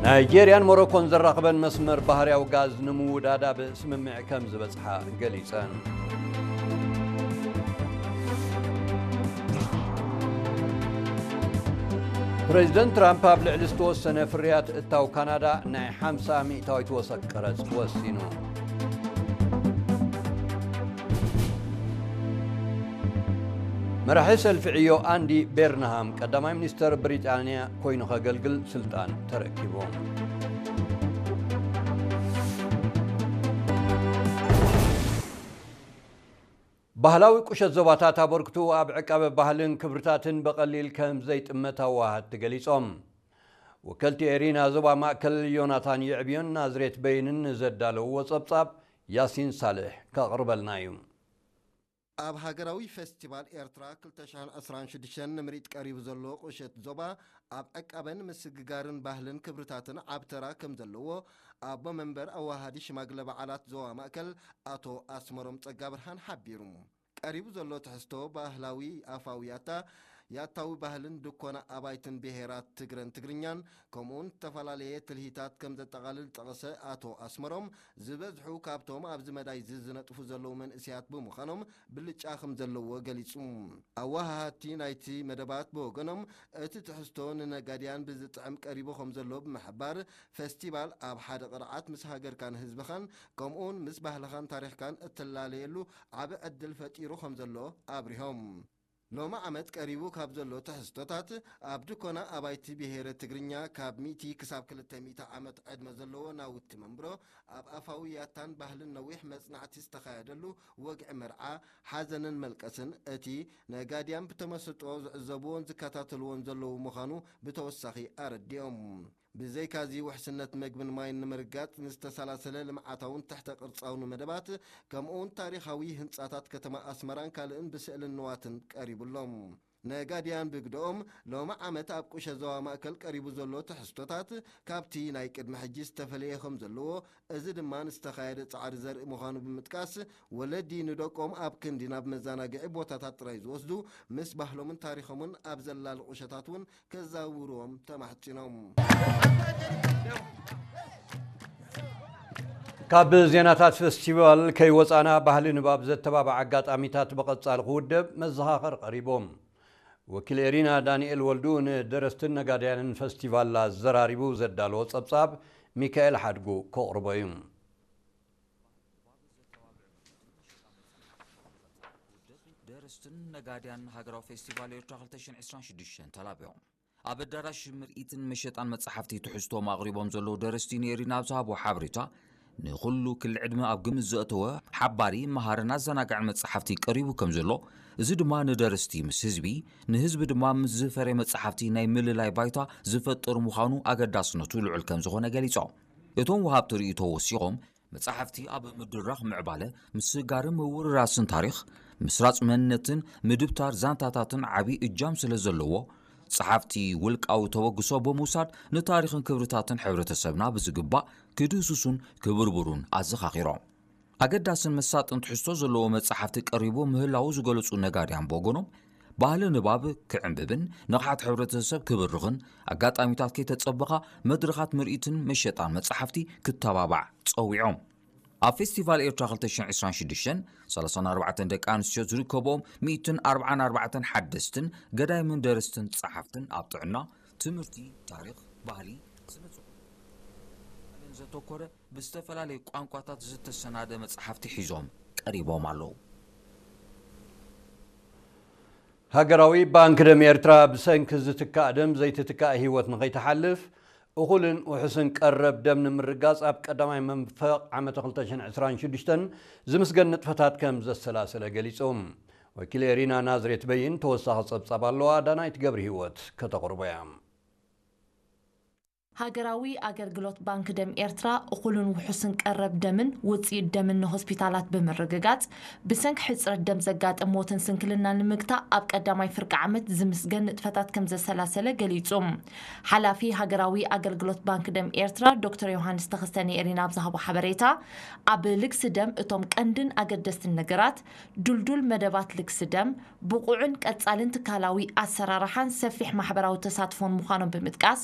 ናይጄርያን ሞሮኮን ዘራኽበን መስመር ባህርያዊ ጋዝ ንምውዳዳብ ስምምዕ ከም ዝበጽሓ ገሊጸን። ፕሬዚደንት ትራምፕ ኣብ ልዕሊ ዝተወሰነ ፍርያት እታው ካናዳ ናይ ሓምሳ ሚእታዊት ወሰኽ ቀረጽ ወሲኑ። መራሒ ሰልፊ ዕዮ ኣንዲ ቤርንሃም ቀዳማይ ሚኒስተር ብሪጣንያ ኮይኑ ከገልግል ስልጣን ተረኪቡ። ባህላዊ ቁሸት ዞባታት ኣበርክቱ ኣብ ዕቃበ ባህልን ክብርታትን ብቐሊል ከም ዘይጥመት ኣዋሃድቲ ገሊጾም። ወከልቲ ኤሪና ዞባ ማእከል ዮናታን የዕብዮን ናዝሬት በይንን ንዘዳለውዎ ጸብጻብ ያሲን ሳልሕ ከቕርበልና እዩ። ኣብ ሃገራዊ ፌስቲቫል ኤርትራ ክልተ ሽሕን ዕስራን ሽዱሽተን ንምርኢት ቀሪቡ ዘሎ ቁሸት ዞባ፣ ኣብ ዕቃበን ምስግጋርን ባህልን ክብርታትን ዓቢ ተራ ከም ዘለዎ፣ ኣቦ መንበር ኣዋሃዲ ሽማግለ በዓላት ዞባ ማእከል ኣቶ ኣስመሮም ጸጋብርሃን ሓቢሩ። ቀሪቡ ዘሎ ትሕዝቶ ባህላዊ ኣፋዊ ያታ፣ ያታዊ ባህልን ድኮና ኣባይትን ብሄራት ትግረን ትግርኛን፣ ከምኡውን ዝተፈላለየ ትልሂታት ከም ዘጠቓልል ዝጠቐሰ ኣቶ ኣስመሮም፣ ዝበዝሑ ካብቶም ኣብዚ መዳይ እዚ ዝነጥፉ ዘለዉ መንእሰያት ብምዃኖም ብልጫ ከም ዘለዎ ገሊጹ። ኣወሃሃድቲ ናይቲ መደባት ብወገኖም፣ እቲ ትሕዝቶ ንነጋድያን ብዝጥዕም ቀሪቡ ከም ዘሎ ብምሕባር፣ ፈስቲቫል ኣብ ሓደ ቅርዓት ምስ ሃገርካን ህዝብኻን ከምኡውን ምስ ባህልኻን ታሪኽካን እትላለየሉ ዓቢ ዕድል ፈጢሩ ከም ዘሎ ኣብሪሆም። ሎሚ ዓመት ቀሪቡ ካብ ዘሎ ትሕዝቶታት፣ ኣብ ድኮና ኣባይቲ ብሄረ ትግርኛ ካብ ሚእቲ ክሳብ ክልተ ሚእቲ ዓመት ዕድመ ዘለዎ ናውቲ መንብሮ፣ ኣብ ኣፋዊ ያታን ባህልን ነዊሕ መጽናዕቲ ዝተኻየደሉ ወግዒ መርዓ፣ ሓዘንን መልቀስን፣ እቲ ነጋድያን ብተመስጦ ዝዕዘብዎን ዝከታተልዎን ዘለዉ ምዃኑ ብተወሳኺ ኣረዲኦም። ብዘይካዚ ውሕስነት መግብን ማይን ንምርጋጽ ንዝተሰላሰለ ልምዓታውን ትሕተ ቅርጻውን መደባት፣ ከምኡውን ታሪኻዊ ህንጻታት ከተማ ኣስመራን ካልእን ብስእልን ንዋትን ቀሪቡሎም። ነጋድያን ብግደኦም፣ ሎሚ ዓመት ኣብ ቁሸ ዞባ ማእከል ቀሪቡ ዘሎ ትሕዝቶታት ካብቲ ናይ ቅድሚ ሕጂ ዝተፈለየ ከም ዘለዎ፣ እዚ ድማ ንዝተኻየደ ጻዕሪ ዘርኢ ምዃኑ ብምጥቃስ፣ ወለዲ ንደቆም ኣብ ክንዲ ናብ መዘናግዒ ቦታታት ጥራይ ዝወስዱ፣ ምስ ባህሎምን ታሪኾምን ኣብ ዘላሊ ቁሸታት እውን ከዛውርዎም ተማሕጺኖም። ካብ ዜናታት ፈስቲቫል ከይወጻና፣ ባህሊ ንባብ ዘተባብዕ ኣጋጣሚታት ብቐጻሊ ክውደብ መዘኻኸር ቀሪቦም። ወኪል ኤሪና ዳንኤል ወልዱ ንደረስትን ነጋድያንን ፈስቲቫል ኣዘራሪቡ ዘዳለዎ ጸብጻብ ሚካኤል ሓድጉ ከቕርቦ እዩ። ደረስትን ነጋድያን ሃገራዊ ፌስቲቫል ኤርትራ ክልተ ሽሕን ዕስራን ሽዱሽተን ተላቢዮም። ኣብ ኣዳራሽ ምርኢትን መሸጣን መጻሕፍቲ ትሕዝቶም ኣቕሪቦም ዘለዉ ደረስቲ ንኤሪና ኣብ ዝሃብዎ ሓበሬታ፣ ንኹሉ ክሊ ዕድመ ኣብ ግምት ዘእተወ ሓባሪ፣ መሃርን ኣዘናጋዕን መጻሕፍቲ ቀሪቡ ከም ዘሎ፣ እዚ ድማ ንደረስቲ ምስ ህዝቢ፣ ንህዝቢ ድማ ምስ ዝፈርየ መጻሕፍቲ ናይ ምልላይ ባይታ ዝፈጥር ምዃኑ ኣገዳስነቱ ልዑል ከም ዝኾነ ገሊጾም። እቶም ወሃብቲ ርእይቶ ወሲኾም፣ መጻሕፍቲ ኣብ ምድራኽ ምዕባለ፣ ምስጋርን ምውርራስን ታሪኽ፣ ምስራጽ መንነትን ምድብታር ዛንታታትን ዓቢ እጃም ስለ ዘለዎ፣ ጸሓፍቲ ውልቃዊ ተበግሶ ብምውሳድ ንታሪኽን ክብርታትን ሕብረተሰብና ብዝግባእ ክድህስሱን ክብርብሩን ኣዘኻኺሮም። ኣገዳስን መሳጥን ትሕዝቶ ዘለዎ መጻሕፍቲ ቀሪቡ ምህላዉ ዝገለጹ ነጋድያን ብወገኖም፣ ባህሊ ንባብ ክዕምብብን ንቕሓት ሕብረተሰብ ክብርኽን ኣጋጣሚታት ከይተጸበኻ መድረኻት ምርኢትን መሸጣን መጻሕፍቲ ክተባባዕ ጸዊዖም። ኣብ ፌስቲቫል ኤርትራ ክልተ ሽሕን ዕስራን ሽዱሽተን፣ ሰላሳን ኣርባዕተን ደቂ ኣንስትዮ ዝርከብኦም ሚእትን ኣርባዓን ኣርባዕተን ሓደስትን ገዳይምን ደረስትን ጸሓፍትን ኣብ ጥዕና፣ ትምህርቲ፣ ታሪኽ፣ ባህሊ፣ ስነ ጽሑፍ ዘተኮረ ብዝተፈላለዩ ቋንቋታት ዝተሰናደ መጽሓፍቲ ሒዞም ቀሪቦም ኣለዉ። ሃገራዊ ባንክ ደም ኤርትራ ብሰንኪ ዝትካእ ደም ዘይትትካእ ህይወት ንኸይትሓልፍ፣ እኹልን ውሑስን ቀረብ ደም ንምርጋጽ ኣብ ቀዳማይ መንፈቕ ዓመተ ክልተ ሽሕን ዕስራን ሽዱሽተን ዝምስገን ንጥፈታት ከም ዘሰላሰለ ገሊጹ። ወኪል ኤሪና ናዝሬት በይን ተወሳኺ ጸብጻብ ኣለዋ፣ ዳናይት ገብረ ህይወት ከተቕርቦ እያ። ሃገራዊ ኣገልግሎት ባንክ ደም ኤርትራ፣ እኹልን ውሑስን ቀረብ ደምን ውጽኢት ደምን ንሆስፒታላት ብምርግጋጽ፣ ብሰንኪ ሕጽረት ደም ዘጋጥም ሞትን ስንክልናን ንምግታእ ኣብ ቀዳማይ ፍርቂ ዓመት ዝምስገን ንጥፈታት ከም ዘሰላሰለ ገሊጹ። ሓላፊ ሃገራዊ ኣገልግሎት ባንክ ደም ኤርትራ ዶክተር ዮሃንስ ተኸስተ ንኤሪና ኣብ ዝሃቦ ሓበሬታ፣ ኣብ ልግሲ ደም እቶም ቀንድን ኣገደስትን ነገራት፣ ድልዱል መደባት ልግሲ ደም፣ ብቑዕን ቀጻልን ትካላዊ ኣሰራርሓን ሰፊሕ ማሕበራዊ ተሳትፎን ምዃኖም ብምጥቃስ፣